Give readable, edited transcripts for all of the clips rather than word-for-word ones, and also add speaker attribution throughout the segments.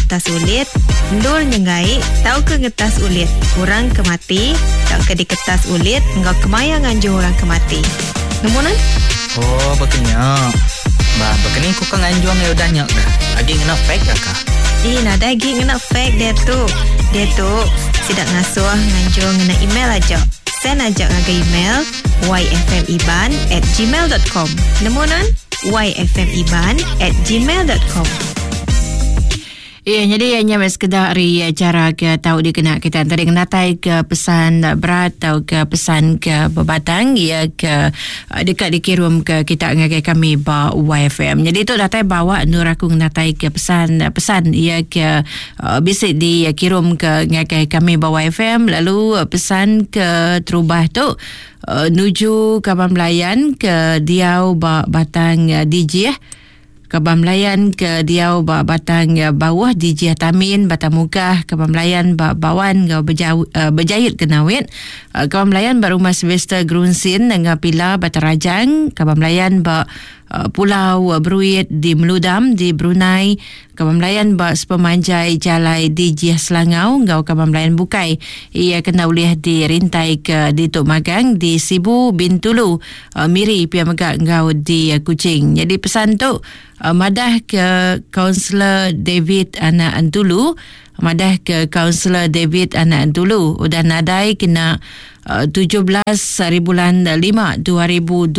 Speaker 1: ngetas ulit, endur nyenggai tauka ngetas ulit orang ke mati tauka diketas ulit enggau kemaya nganjung orang ke mati. Nemu nuan?
Speaker 2: Oh, baka nya. Ba, baka ni ku ka nganjung iya udah nya kah? Agi ngena fax ka kah?
Speaker 1: Ih, nadai agi ngena fax diatu. Diatu, sida ngasuh nganjung ngena email aja. Send aja ngagai email yfmiban at gmail dot com. Nemu nuan? yfmiban at gmail dot com.
Speaker 3: Iya, nyadi nya meh sekeda ari chara ke tau dikena kita tadi ngenatai ke pesan berat tau ke pesan ke bebatang iya ke eh, deka dikirum ke kita ngagai kami ba YFM. Nyadi tu datai bawa endur aku ngenatai ke pesan pesan iya ke eh, bisi dikirum ke ngagai kami ba YFM lalu eh, pesan ke terubah tu nuju kaban belayan ke diau ba Batang Dijih Kaban Belayan ke diau ba Batang Bauh Dijih Tamin Batang Mukah Kaban Belayan ba Bawan enggau Bejau, Bejait Kenawit Kaban Belayan ba Rumah Sylvester Gerunsin enggau Pila Batang Rajang Kaban Belayan ba Pulau Beruit di Meludam di Brunei Kaban Belayan ba sepemanjai jalai Dijih Selangau enggau kaban belayan bukai iya kena ulih dirintai ke ditu magang di Sibu, Bintulu, Miri pia mega enggau di Kuching. Nyadi pesan tu madah ke Kaunselor David Anak Entulu madah ke Kaunselor David Anak Entulu udah nadai kena 17 hari bulan 5 2026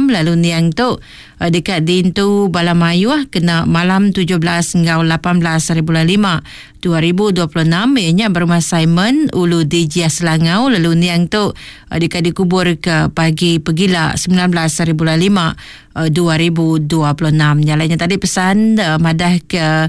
Speaker 3: lalu niang tu deka diintu bala mayuh kena malam 17 enggau 18 hari bulan 5 2026 iya nya ba Rumah Simon Ulu Dijih Selangau lalu niang tu deka dikubur ke pagi pegila 19 hari bulan 5 2026. Nya alai nya tadi pesan madah ke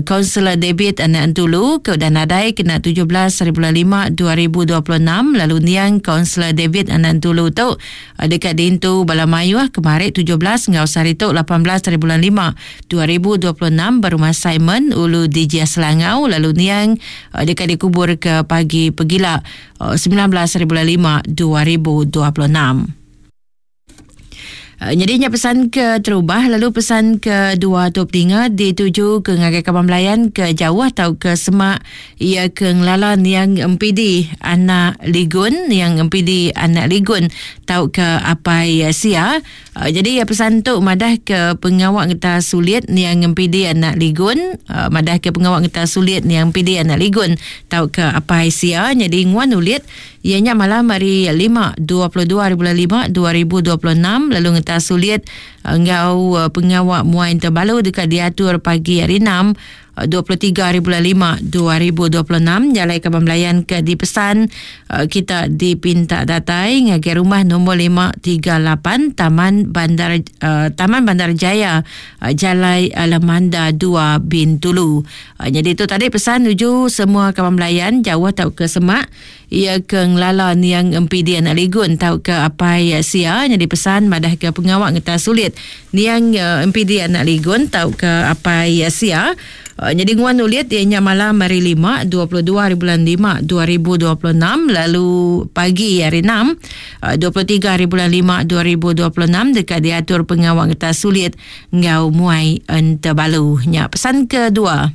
Speaker 3: Kaunselor David anak Entulu ke udah nadai kena 17 hari bulan 5 2026 lalu niang Kaunselor David anak Entulu tu deka diintu bala mayuh kemari 17 enggau sehari tu 18 hari bulan 5 2026 ba Rumah Simon Ulu Dijih Selangau lalu niang deka dikubur ke pagi pegila 19 hari bulan 5 2026. Nyadi nya pesan ke terubah lalu pesan ke dua tu peninga dituju ke ngagai kaban belayan ke jauh tau ke semak iya ke ngelala niang MPD anak Ligun niang MPD anak Ligun tau ke apai sia. Jadi iya pesan tu madah ke pengawa ngeta sulit niang MPD anak Ligun madah ke pengawa ngeta sulit niang MPD anak Ligun tau ke apai sia nyadi nguan ulit Iya nya malam hari Lima, 22 hari bulan Lima, 2026 lalu ngetas sulit enggau pengawa muai entebalu deka diatur pagi hari Enam, 23 hari bulan Lima, 2026 jalai kaban belayan ke dipesan kita dipinta datai ngagai rumah nombor 538 Taman Bandar Taman Bandar Jaya Jalai Alamanda 2 Bintulu. Nyadi tu tadi pesan nuju semua kaban belayan jauh tauka semak Iya ke ngelala niang Empidi anak Ligun tauka apai sia nyadi pesan madahka pengawa ngetas sulit niang Empidi anak Ligun tauka apai sia nyadi nguan ulit iya nya malam hari Lima 22 hari bulan Lima 2026 lalu pagi hari Enam 23 hari bulan Lima 2026 deka diatur pengawa ngetas sulit enggau muai entebalu. Nya pesan kedua.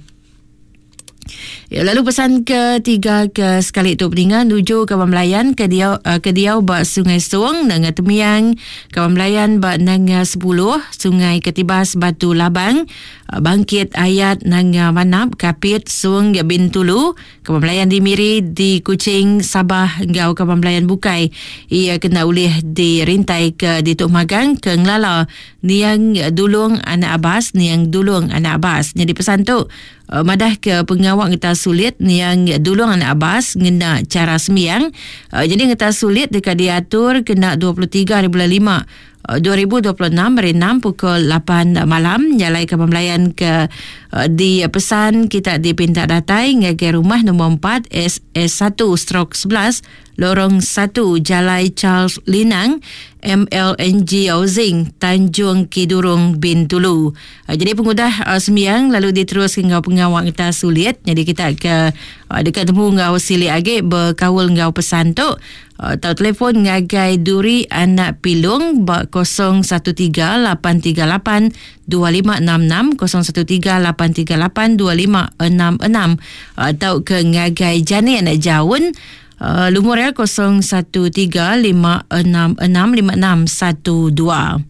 Speaker 3: Ya, lalu pesan ketiga ke sekali tu peninga nuju kaban belayan ke diau uh, ke diau ba Sungai Song Nanga Temiang, kaban belayan ba Nanga Sepuluh, Sungai Ketibas Batu Labang, uh, Bangkit Ayat Nanga Manap, Kapit, Song Bintulu, kaban belayan di Miri, di Kuching, Sabah enggau kaban belayan bukai. Ia kena ulih dirintai ke ditu magang ke ngelala niang Dulung Anak Abbas, niang Dulung Anak Abbas. Nyadi pesan tu Madah ke pengawa ngetas sulit niang Dulung Anak Abbas ngena chara sembiang. Nyadi ngetas sulit deka diatur kena 23 hari bulan 5 2026 hari 6 pukul 8 malam jalai kaban belayan ke di pesan kita dipinta datai ngagai rumah nombor 4 SS1 stroke 11 Lorong 1 Jalai Charles Linang, MLNG Housing, Tanjung Kidurong, Bintulu. Ah, jadi pengudah uh, sembiang lalu diteruskan enggau pengawa ngetas sulit. Jadi kita ke uh, dekat temu enggau silik agi bekaul enggau pesan tu. Tau telefon ngagai Duri anak Pilung ba 013 838 2566 013 838 2566 tau ke ngagai Jani anak Jaun lumur iya 013 566 5612.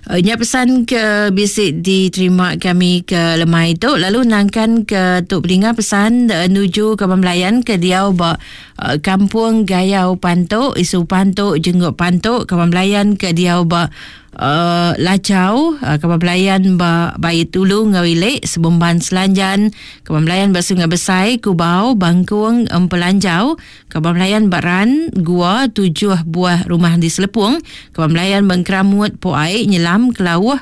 Speaker 3: Nya pesan ke bisi diterima kami ke lemai tu lalu nangkan ke tu peninga pesan nuju kaban belayan ke diau ba kampung Gayau Pantu, Isu Pantu, Jenguk Pantu, kaban belayan ke diau ba Lachau, kaban belayan ba Bait Ulu enggau Ili, Sebumban Selanjan, kaban belayan ba Sungai Besai, Kubau, Bangkung, Empelanjau, Kaban Belayan ba Ran, Gua, tujuh buah rumah di Selepung, Kaban Belayan ba Engkeramut, Po Ai, Nyelam, Kelauh,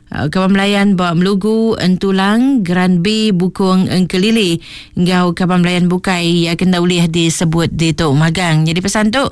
Speaker 3: Kaban Belayan ba Melugu, Entulang, Geran B, Bukong, Engkelili enggau kaban belayan bukai iya ke enda ulih disebut ditu magang. Nyadi pesan tu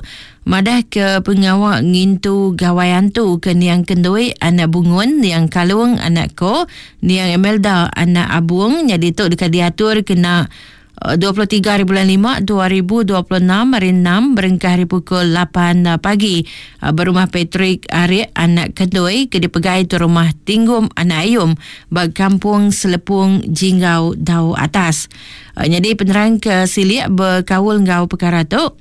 Speaker 3: madah ke pengawa ngintu Gawai Antu ke niang Kendui anak Bungun, niang Kalung anak Ko, niang Emelda anak Abung nyadi tu deka diatur kena 23 hari bulan 5 2026 hari 6 berengkah hari pukul 8 pagi berumah Patrick Arik anak Kendoi ke dipegai tu rumah Tinggum anak Ayum ba Kampung Selepung Jinggau Dau Atas. Nyadi penerang ke silik bekaul enggau perkara tu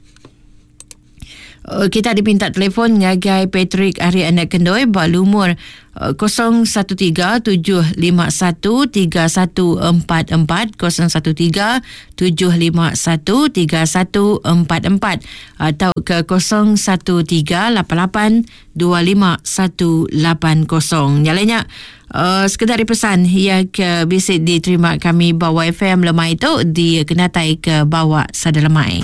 Speaker 3: Kita dipinta telefon ngagai Patrick ari anak Kendoi ba lumur 0137513144 0137513144 atau ke 0138825180. Nyalai nya uh, sekedar pesan ia ke bisi diterima kami ba YFM lemai tu di kenatai ke bawa sada lemai.